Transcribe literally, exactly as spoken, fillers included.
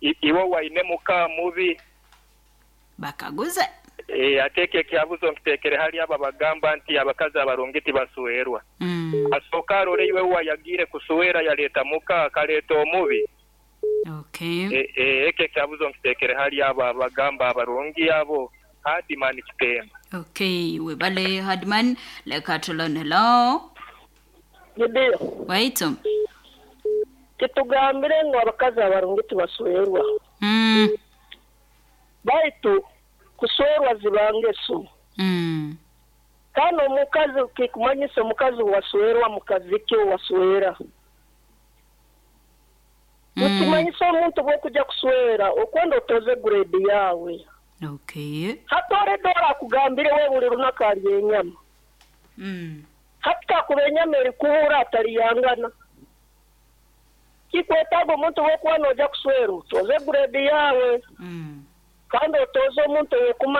I- Iwe waine muka mubi. Bakaguze. E, ate ekyo ekyabuzo nkiteekere hali abo abagamba nti abakazi abarungi tibaswerwa. Mm. Asooka arore iwe wayagiire kuswera yaleeta muka akaleeta omubi. Okay. E, e, ekyo ekyabuzo nkiteekere hali abo abagamba abarungi abo Hardman Kitemba. Okay, webale Hardman. Leka tulone. Hello. Gidiyo, Waitu. kitugambire ngu abakazi abarungi tibaswerwa. Mm. Baitu kuswerwa ziba ngeso. Mm. Kandi omukazi kikumanyisa omukazi waswerwa mukazi ki waswera. Mm. Nikimanyisa omuntu bw'okujya kuswera okwenda otoze grade yawe. Okay. Hati oredora akugambire we buli lunaku alya enyama. Mm. Hati kakuba enyama erikuhura ataliyangana. Kikwetaaga omuntu bw'okuba noojya kuswera otoze grade yawe. Mm. Kandi otoze omuntu ow'okumanya.